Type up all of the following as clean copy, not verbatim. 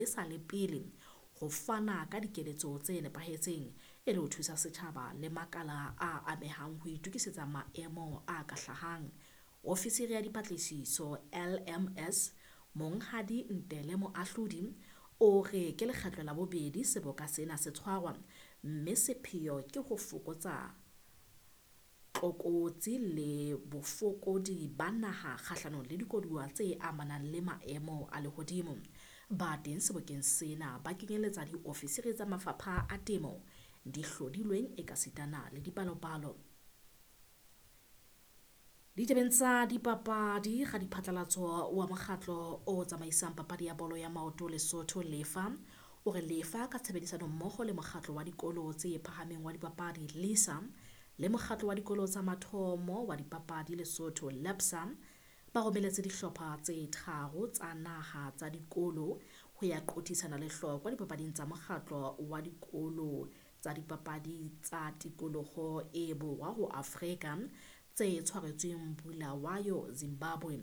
e sa le pele ho fana ka dikeletso tse nepahetseng e le ho thusa setjhaba le makala a amehang ho itokisetsa maemo a ka hlahang. Ofisiri ya dipatlisiso LMS, Monghadi Ntele Moahlodi, o re ke lekgetlo la bobedi seboka sena se tshwarwa, mme sepheo ke ho fokotsa tlokotsi le bofokodi ba naha kgahlanong le dikoduwa tse amanang le maemo a lehodimo. Ba teng sebokeng sena ba kenyeletsa diofisiri tsa mafapha a temo, dihlodilweng ekasitana le dipalopalo. Ditabeng tsa dipapadi, radiphatlalatso wa mokgatlo o tsamaisang papadi ya bolo ya maoto Lesotho Lefa o re Lefa ka tshebedisano mmoho le mokgatlo wa dikolo tse phahameng wa dipapadi LISA le mokgatlo wa dikolo tsa mathomo wa dipapadi Lesotho LAPSA ba romeletse dihlopha tse tharo tsa naha tsa dikolo ho ya qothisana lehlokwa dipapading tsa mokgatlo wa dikolo tsa dipapadi tsa tikoloho e borwa ho Afrika tse tshwaretsweng Bulawayo, Zimbabwe.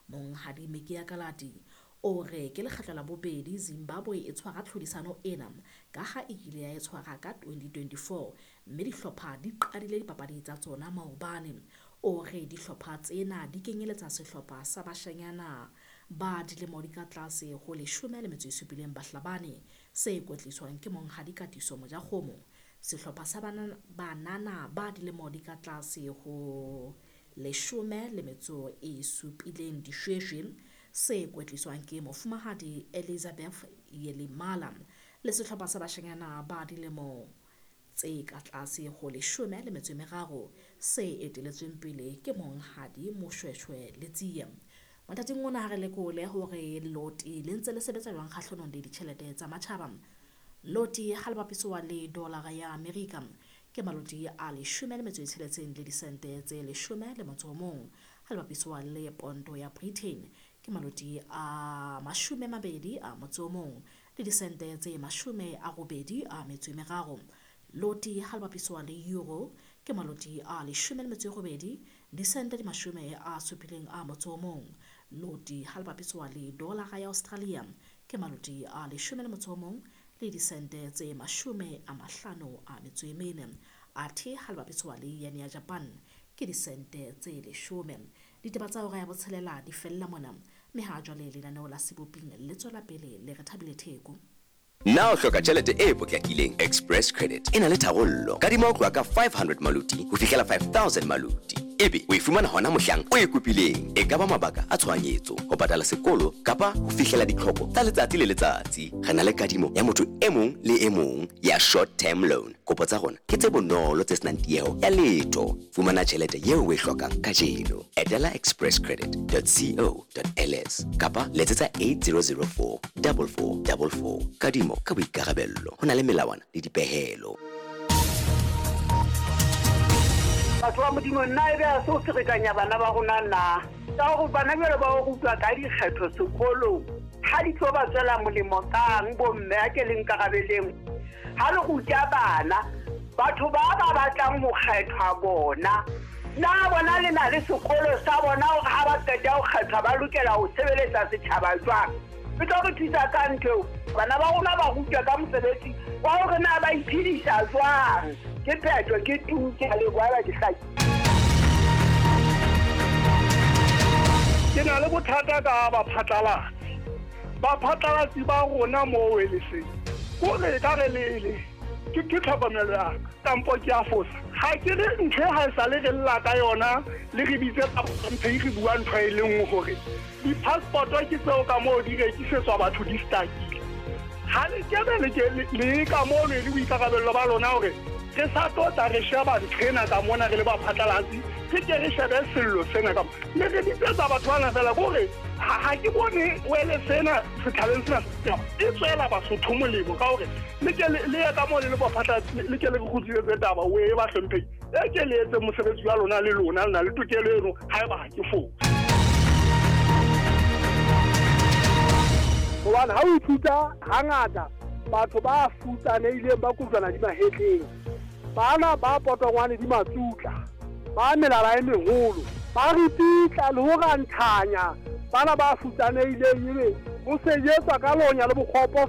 Monghadi Mekia Kalati o re ke lekgetlo la bobedi Zimbabwe e tshwara tlhodisano ena ka ha e kile ya e tshwara ka 2024 mme dihlopha di qadile dipapadi tsa tsona maobane. O re dihlopha tsena di kenyeletsa sehlopha sa bashanyana ba dilemo di ka tlase ho 17 Bahlabane se kwetliswang ke Monghadi Katiso Mojakgomo, sehlopha sa banana ba dilemo di ka tlase ho 17 Dishweshwe se kwetliswang ke Mofumahadi Elizabeth Yelimala le sehlopha sa bashanyana ba dilemo tse ka tlase ho 13 se eteletsweng pele ke Monghadi Moshweshwe Letsie. Mathateng ona ha re lekole hore loti le ntse le sebetsa jwang kgahlanong le ditjhelete tsa matjhaba. Loti ha le bapiswa le dolara ya Amerika ke maloti a 16 le disente tse 11, ha le bapiswa le ponto ya Britain ke maloti a 21 le disente tse 83. Loti ha le bapiswa le euro ke maloti a 18 disente di 71. Loti ha le bapiswa le dolara ya Australia ke maloti a 11 le disente tse 54. Athe ha le bapiswa le yen ya Japan ke disente tse 10. Ditaba tsa hora ya botshelela di fella mona, mme ha jwale lenaneo la Seboping le tswela pele le re Thabile Theko. Na o hloka tjhelete e potlakileng? Express Credit e na le tharollo. Kadima ho tloha ka 500 maluti ho fihlela 5000 maluti. Ebe o e fumana hona mohlang o e kopileng. E ka ba mabaka a tshohanyetso, ho patala sekolo kapa ho fihlela ditlhoko tsa letsatsi le letsatsi. Re na le kadimo ya motho e mong le e mong ya short term loan. Kopo tsa rona ke tse bonolo tse senang tieho ya letho. Fumana tjhelete eo o e hlokang kajeno. Etela expresscredit.co.ls kapa letsetsa 8004 4444. Kadimo ka boikarabello. Ho na le melawana le dipehelo. Batho ba Modimo, nna ebe ha se ho ferekanya bana ba rona na? Ka hore bana jwale ba o rutwa ka dikgetho sekolong, ha di tlo ba tswela molemo kang bomme a ke le nkarabeleng? Ha le ruta bana, batho ba ba batlang ho kgethwa bona, na bona le na le sekolo sa bona hore ha ba qeta ho kgethwa ba lokela ho sebeletsa setjhaba jwang? E tlo re thusa ka ntho eo. Bana ba rona ba rutwa ka mosebetsi wa hore na ba iphedisa jwang. Ke phetho, ke tu, ke a leboha, ba ke hlaki. Ke na le bothata ka baphatlalatsi. Baphatlalatsi ba rona moo e le seng. Kore ka re le ke tlhokomelo ya ka, kampo ke a fosa. Ha ke re ntho e ha e sale re lla ka yona, le re bitse tsa re bua ntho e le nngwe hore di-passport-o ke tseo ka moo di rekisetswa batho di stakile. Ha le kebe le ke le ka mono e le boikarabello ba lona hore re sa tlo tla re sheba ntho ena ka mona re le baphatlalatsi, re ke re shebe sello sena ka mona. Mme re bitsetsa batho bana fela ke hore ha ke bone wele sena setjhabeng sena e tswela Basotho molemo ka hore le ke le ye ka moo le le baphatlalatsi, le ke le re kgutlisetse taba o e ba hlomphehile. E ke le etse mosebetsi wa lona le lona, le na le tokelo eno haeba ha ke fose. Hobane ha o ithuta hangata batho ba futsanehileng ba kojwana di mahetleng, bana ba potongwane di matsutla, ba melala e meholo, ba ripitla le ho ranthanya bana ba futsanehileng, ebe ho sejetswa ka lonya le bokgopo.